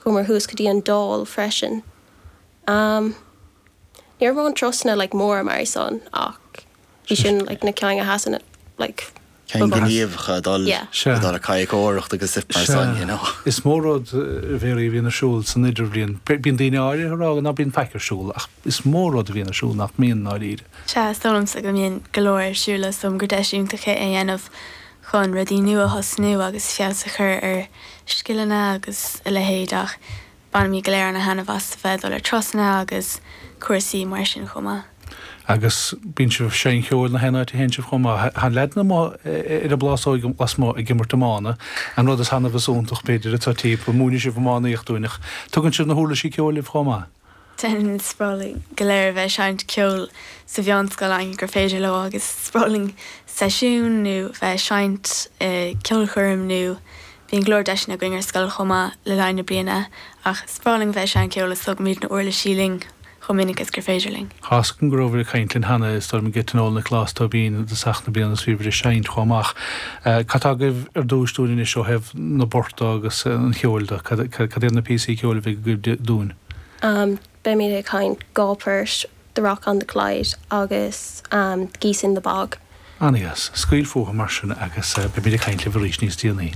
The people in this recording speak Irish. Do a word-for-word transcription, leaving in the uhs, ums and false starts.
Chuamar thuas go dtí an Dáil freisin. Um, ní raibh an turasanna like, mór mar san ach bhí sin like, na cinn a sheasann like, Cinn gníomhacha dul Yeah. Sea. dul ag cadhcóireacht agus stuff mar san, you know. Is mór rud a bhí a bhíonn ar siúl san idirbhliain. Bíonn daoine áirithe ag rá ná bíonn faic ar siúl ach is mór rud a bhíonn ar siúl nach mbíonn dáiríre. Sea is dóigh liomsa go mbíonn go leor ar siúl is gur deis iontach é a dhéanamh chun rudaí nua a thosnú agus feabhas a chur ar scileanna agus a leithéid ach bainimid go léir an-taitneamh as bheith dul ar turasanna agus cúrsaí mar sin chomh maith. Agus bíonn sibh ag seinnt ceoil na háite a théann sibh chomh maith. Tá leaideanna amuigh ar an bplásóg lasmuigh ag imirt iomána an rud is annamh is iontach b'fhéidir atá típ múineann sibh iománaíocht dúinn ach tugann sibh na huirlisí ceoil libh chomh maith. Déanann is breá linn go léir bheith seinnt ceoil sa mheánscoil an gur féidir leo agus is breá linn seisiún nó bheith seinnt ceolchoirm nó bíonn go leor deiseanna againn ar scoil chomh maith le linn na bliana ach is breá linn bheith seinnt ceoil is tugaimid na huirlisí linn chomh minic is gur féidir linn. Chas go raibh ag caint linn cheana is dóigh liom go tionól na Clás Tóibín de seach na bliana is bhí ag seinnt chomh maith. Cad atá agaibh ar dtús dúinn anois ó thaobh na bport agus an cheoil de cad cad iad na píosaí ceoil a bheidh agaibh dúinn. Um, Beimid ag seinnt dhá phort The Rock on the Clyde agus um, Geese in the Bog. An-deas, scaoil fúthu mar sin agus beimid ag caint libh arís níos déanaí.